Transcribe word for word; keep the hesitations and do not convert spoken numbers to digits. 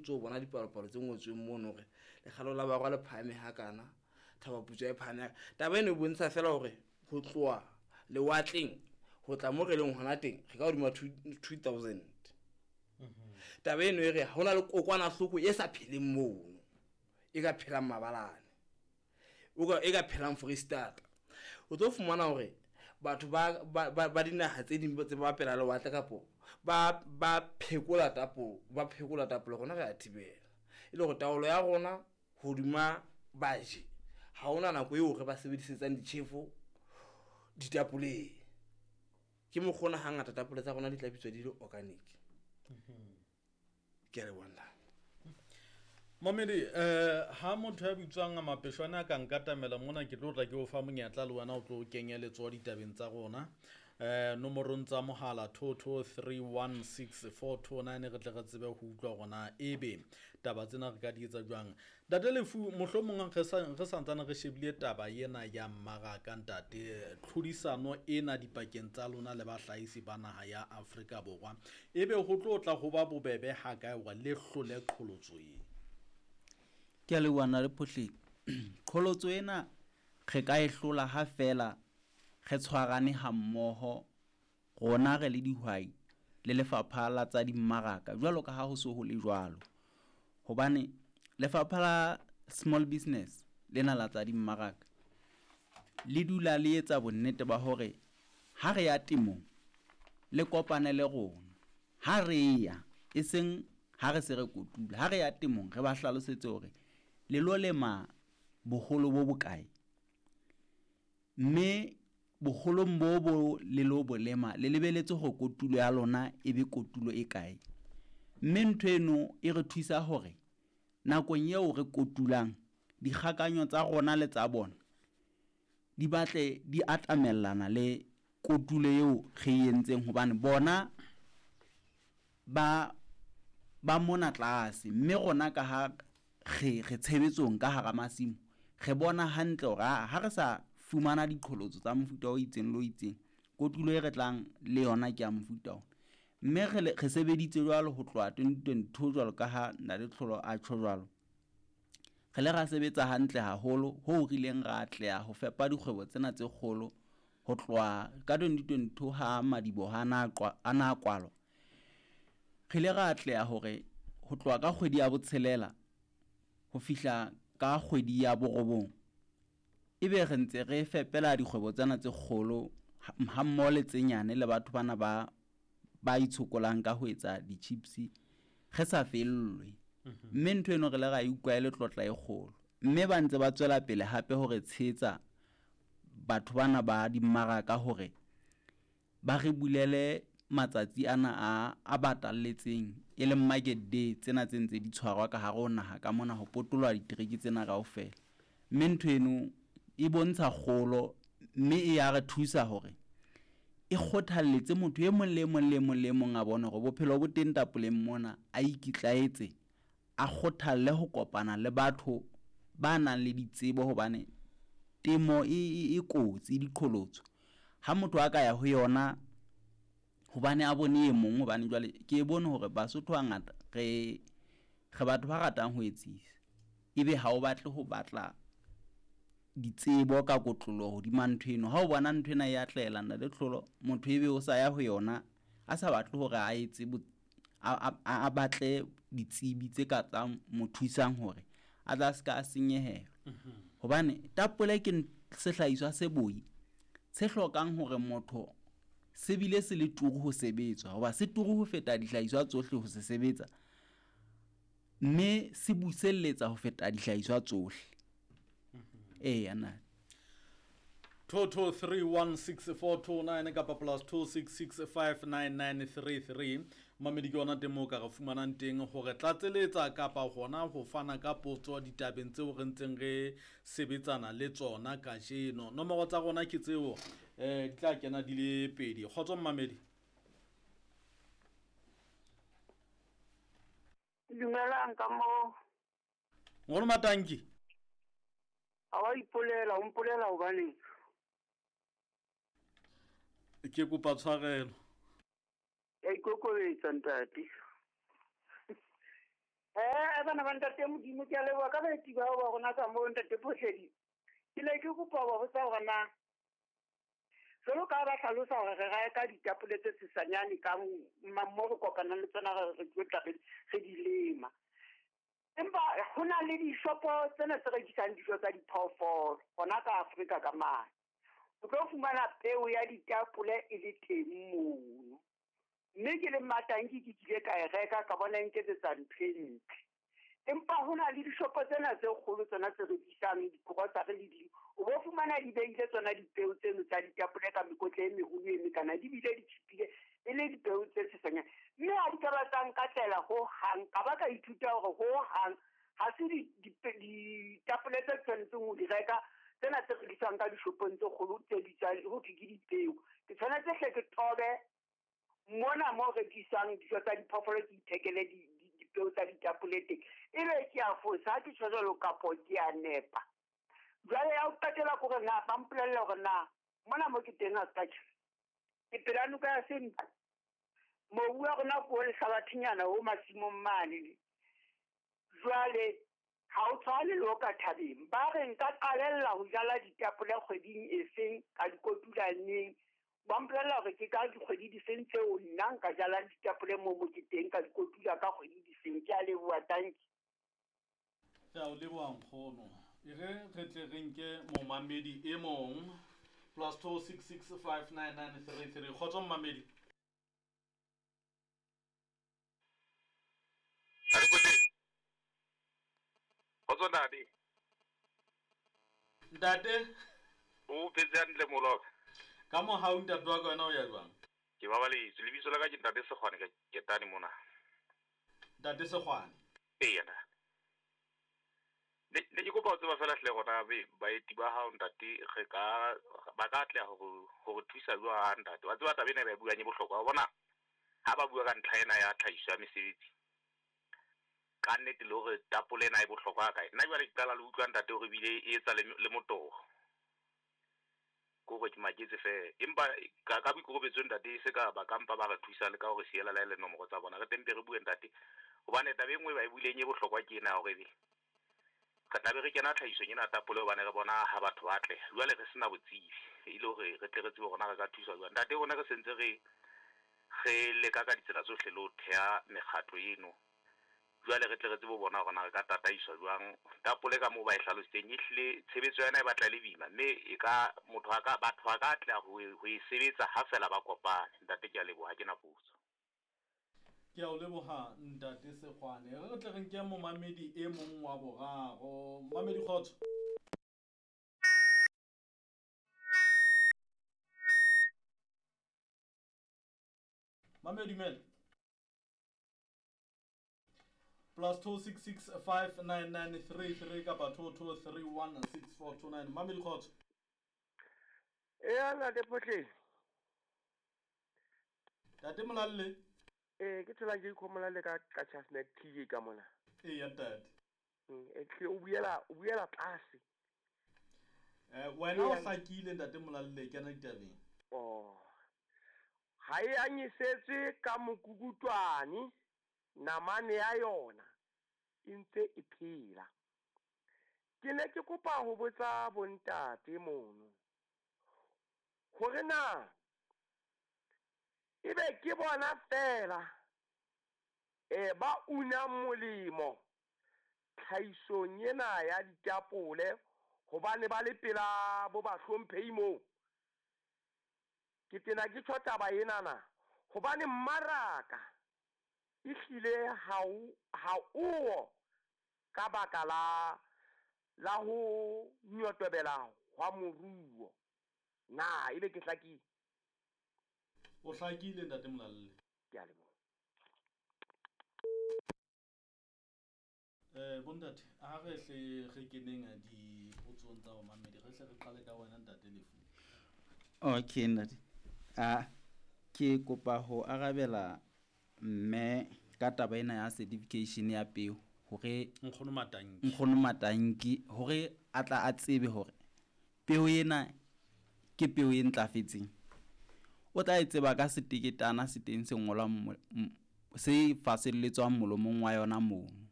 ntso bona dipalopalo tse ngotsweng mono hore lekgalo la borwa le phahame hakana, Thaba Putswa e phahame. Taba eno e bontsha fela hore ho tloha lewatleng ho tla mo re leng hona teng re ka hodima two thousand. Taba eno e re ha hona le kokwanahloko e sa pheleng mono, e ka phelang mabalane, o ka e ka phelang Foreisetata. O tlo fumana hore batho ba ba ba dinaha tse ding tse ba pela lewatle kapo ba ba phekola tapo ba phekola tapole, rona re a thibela. E le hore taolo ya rona hodima baji ha hona nako eo re ba sebedisetsang ditjhefo ditapoleng. Ke mokgwa ona hangata tapole tsa rona di tla bitswa di le organic. Ke a leboha ntate. Mamedi, eh ha motho ya bitswang Mapeshwane a ka nkatamela mona, ke tlo tla ke o fa monyetla le wena o tlo kenye letsoho ditabeng tsa rona. Eh nomorong tsa mohala two two three one six four two nine re tle re tsebe ho utlwa hore ebe taba tsena re ka di etsa jwang. Ntate Lefu, mohlomong re sa re santsane re shebile taba ena ya mmaraka ntate, tlhodisano ena dipakeng tsa lona le bahlahisi ba naha ya Afrika Borwa. Ebe ho tlo tla ho ba bobebe ha kae hore le hlole qholotso e? Ke a leboha le Phohleng. Qholotso ena re ka e hlola ha fela re tshwarane ha mmoho rona re le dihwai le lefapha la tsa dimmaraka jwalo ka ha ho so ho le jwalo. Hobane lefapha la small business lena la tsa dimmaraka le dula le etsa bonnete ba hore ha re ya temong le kopane le rona. Ha re ya e seng ha re se re kotula, ha re ya temong re ba hlalosetse hore le lo lema boholo bo bokae, mme boholong bo bo le lo bo lema le lebeletse hore kotulo ya lona e be kotulo e kae. Mme ntho eno e re thusa hore nakong eo re kotulang dikgakanyo tsa rona le tsa bona di batle di atamellana le kotulo eo re e entseng, hobane bona ba ba mona tlase, mme rona ka ha re re tshebetsong ka hara masimo re bona hantle hore ha re sa fumana diqholotso tsa mofuta o itseng le o itseng, kotulo e re tlang le yona ke ya mofuta ona. Mme re re sebeditse jwalo ho tloha twenty twenty-two jwalo ka ha Ntate Tlholo a tjho jwalo. Re le ra sebetsa hantle haholo ho re ileng ra atleha ho fepa dikgwebo tsena tse kgolo ho tloha ka twenty twenty-two ha madiboho a na a na kwalwa. Re ile ra atleha hore ho tloha ka kgwedi ya botshelela ho fihla ka kgwedi ya borobong ebe re ntse re fepela dikgwebo tsena tse kgolo ha mmoho le tse nyane le batho bana ba ba itshokolang ka ho etsa di-chips re sa fellwe. Mme ntho eno re le ra e utlwa e le tlotla e kgolo. Mme ba ntse ba tswela pele hape hore tshehetsa batho bana ba dimmaraka hore ba re bulele matsatsi ana a a batalletseng e leng market day tsena tse ntse di tshwarwa ka hare ho naha ka mona ho potoloha ditereke tsena kaofela. Mme ntho eno e bontsha kgolo mme e ya re thusa hore e kgothalletse motho e mong le e mong le mong le mong a bone hore bophelo bo teng tapoleng mona, a ikitlaetse, a kgothalle ho kopana le batho ba nang le ditsebo hobane temo e e kotsi diqholotso. Ha motho a ka ya ho yona hobane a bone e mong, hobane jwale ke bone hore Basotho hangata re re batho ba ratang ho etsisa, ebe ha o batle ho batla ditsebo ka kotloloho hodima ntho eno. Ha o bona ntho ena e atleha Ntate Tlholo, motho ebe o sa ya ho yona a sa batle hore a etse a a batle ditsebi tse ka tsa mo thusang hore a tla ska a senyehelwa. Hobane tapole ke sehlahiswa se boi se hlokang hore motho se bile se le turu ho sebetswa, hoba se turu ho feta dihlahiswa tsohle ho se sebetsa, mme se buselletsa ho feta dihlahiswa tsohle. Eya na. two two three one six four two nine kapa plus two six six five nine nine three three. Mamedi ke yona teng moo ka re fumanang teng hore tlatseletsa kapa hona ho fana ka potso ditabeng tseo re ntseng re sebetsana le tsona kajeno. Nomoro tsa rona ke tseo, eh di tla kena di le pedi. Kgotso Mamedi. Dumelang ka mo. Ngolo Matanki. Ha wa ipolela, o mpolela hobaneng? Ke kopa tshwarelo. Ke ikokobetsa ntate. Eh, kae bana ba ntate Modimo? Ke a leboha ka baeti bao ba rona ka moo ntate Phohledi. Ke ne ke kopa ho ba botsa hore na jwalo ka ha ba hlalosa hore re reka ditapole tse sesanyane ka mo re kopanang le tsona re re tlo tla re di lema. Empa ho na le dishopo tsena tse rekisang dijo tsa diphoofolo hona ka Afrika ka mane. O tlo fumana peo ya ditapole e le teng mono. Mme ke le Matanki ke kile ka e reka ka bona e nketsetsa ntho e ntle. Empa ho na le dishopo tsena tse kgolo tsona tse rekisang di-grocery le di, o bo fumana di beile tsona dipeo tseno tsa ditapole ka mekotla e meholo e mekana, di bile di tjhipile e le dipeo tse sesanyane. Mme ha di ka ba tsa nkatlela hohang, ka ba ka ithuta hore hohang ha se ditapole tse tshwanetseng ho di reka tsena tse rekiswang ka dishopong tse kgolo tse bitswang ho thwe ke dipeo. Ke tshwanetse hle ke tobe mona mo rekiswang dijo tsa diphoofolo, ke ithekele dipeo tsa ditapole teng. Ebe ke a fosa ha ke tjho jwalo kapo ke a nepa. Jwale ya ho qetela ke hore na ba mpolelle hore na mona mo ke teng ha se ka tjho. Ke pela noka ya Senqu. Mobu wa rona ke o lehlabathinyana o masimong mane. Jwale ha o tshwane le o ka thabeng. Ba re nka qalella ho jala ditapole kgweding e feng, ka di kotula neng. Ba mpolella hore ke ka dikgwedi di feng tseo nna nka jalang ditapole moo mo ke teng, ka di kotula ka kgwedi di feng. Ke a leboha, tanki. Ke a o leboha nkgono. E re re tle re nke momamedi e mong plus two six six five nine nine three three. Kgotso momamedi. Kgotso ntate. Ntate. O phetse hantle moloka. Ka mohau ntate wa ka wena o ya jwang? Ke babaletswe. Lebitso la ka ke ntate Sekgwane ka Ketane mona. Ntate Sekgwane. Ee ntate. Ne ne ke kopa ho tseba feela hle hore baeti ba hao ntate re ka ba ka atleha ho ho re thusa jwang ntate. Wa tseba taba ena e ba e buang e bohlokwa. Wa bona ha ba bua ka ntlha ena ya tlhahiso ya mesebetsi, ka nnete le hore tapole ena e bohlokwa kae. Nna jwale ke qala le utlwa ntate hore ebile e etsa le le motoho. Ke hore ke maketse feela. Empa ka ka boikokobetso ntate e se ka ba ka mpa ba re thusa le ka hore siela la le nomoro tsa bona. Re tempe re bue ntate. Hobane taba e nngwe ba e buileng e bohlokwa ke ena hore ebe re tla be re kena tlhahisong ena tapole hobane re bona ha batho ba atleha. Jwale re sena botsebi e le hore re tle re tsebe hore na re ka thuswa jwang. Ntate rona re sentse re re leka ka ditsela tsohle le ho theha mekgatlo eno. Jwale re tle re tsebe ho bona hore na re ka tataiswa jwang. Tapole ka moo ba e hlalositseng ehlile tshebetso ya yona e batla e le boima, mme e ka motho a ka batho ba ka atleha ho e ho e sebetsa ha feela ba kopane. Ntate ke a leboha, ha ke na potso. Ke a o leboha ntate Sekgwane. Re tle re nke momamedi e mong wa boraro. Momamedi kgotso. Mamedi dumela. Plus two six six five nine nine three three kapa two two three one six four two nine. Mamedi kgotso. Eya ntate Phohledi. Ntate Molalle. Eh ke thola ke ikhomola le ka ka Chestnut T J ka mona. Eya ntate. Mm e tle o buela o buela tlase. Eh wena o hlakile ntate Molalle kena ditabeng. Oh. Ha e anyisetswe ka mokukutwane namane ya yona e ntse e phela. Ke ne ke kopa ho botsa bontate mono hore na ebe ke bona fela eh ba una molemo tlhahisong ena ya ditapole hobane ba le pela bo ba hlomphehi moo. Ke tena ke tjho taba ena na hobane mmaraka ehlile ha o ha o ka baka la la ho nyotobela hwa moruo. Na ebe ke hlakile? O hlakile ntate Molalle. Ke a leboha. Eh bontate, ha re hle re keneng dipotsong tsa bomamedi, re hle re qale ka wena ntate Lefu. Okay ntate. Ah ke kopa ho arabela mme ka taba ena ya certification ya peo hore Nkgono Matanki. Nkgono Matanki hore a tla a tsebe hore peo ena ke peo e ntlafetseng. O tla e tseba ka seteketana se teng se ngolwang se faselletswang molomong wa yona mono.